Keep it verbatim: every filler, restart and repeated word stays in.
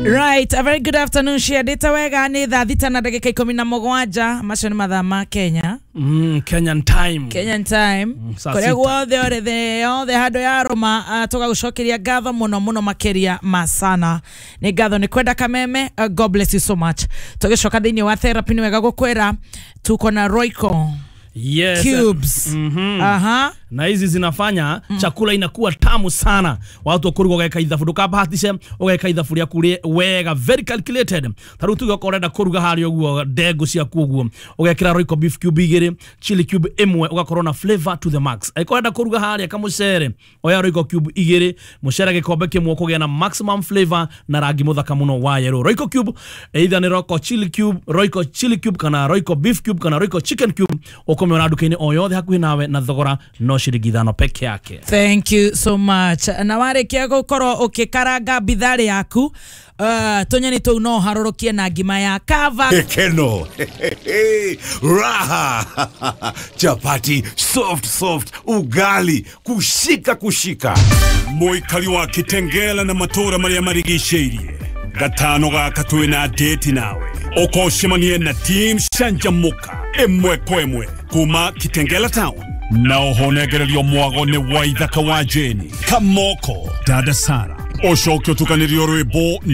Right, a very good afternoon. Ciendete wega. Nĩ thaa thita na ndagĩka ikũmi na mũgwanja. Macio nĩ mathaa ma Kenya. mm, Kenyan time. Kenyan time. Saa kũrĩa sita. Guothe ũrĩ thĩ yothe handũ ya rũma, uh, tũgagũcokeria ngatho mũno mũno makĩria ma sana. Nĩ ngatho nĩ kwenda kameme. uh, God bless you so much. Tũgĩcoka thĩinĩ wa therapy, nĩ wega gũkwĩra tuko na Royco Yes. cubes. Mhm. Aha. Na hizi zinafanya mm. chakula inakuwa tamu sana. Watu wakuruga ugeka ithabu, ndukabahatishe, ugeka ithabu rĩaku rĩ wega, very calculated. Ta rĩu tuge okorwo ũrenda kũruga harĩa ũguo ndengũ ciaku ũguo, ũgekĩra Royco beef cube igĩrĩ, chili cube ĩmwe, ũgakorwo na flavor to the max. Angĩkorwo ũrenda kũruga harĩa kamũcere, oya Royco cube igĩrĩ, mũcere gĩkombe kĩmwe, ũkũgĩa na maximum flavor na rangi mũthaka mũno wa yellow. Royco cube, either nĩ Royco chili cube, Royco chili cube kana Royco beef cube kana Royco chicken cube, ũkũmĩona nduka-inĩ o yothe hakuhĩ nawe na thogora no ciringi ithano peke yake. Thank you so much. Na warĩkia gũkorwo ũkĩkaranga bitharĩ yaku, uh, tũnyeni tũu no ũharũrũkie na ngima ya kava. Keno. Raha. Chapati soft soft, ugali kushika kushika. Mũikari wa Kitengela na matũũra marĩa marigicĩirie, gatano gaka twĩna date nawe ũkocemanie na team Canjamũka ĩmwe kwa ĩmwe kuma Kitengela town, na ũhonengererio mwago nĩ Waithaka wa Jeni Kamoko, Dada Sara, ũcoke ũtukanĩrio rwĩmbo nĩ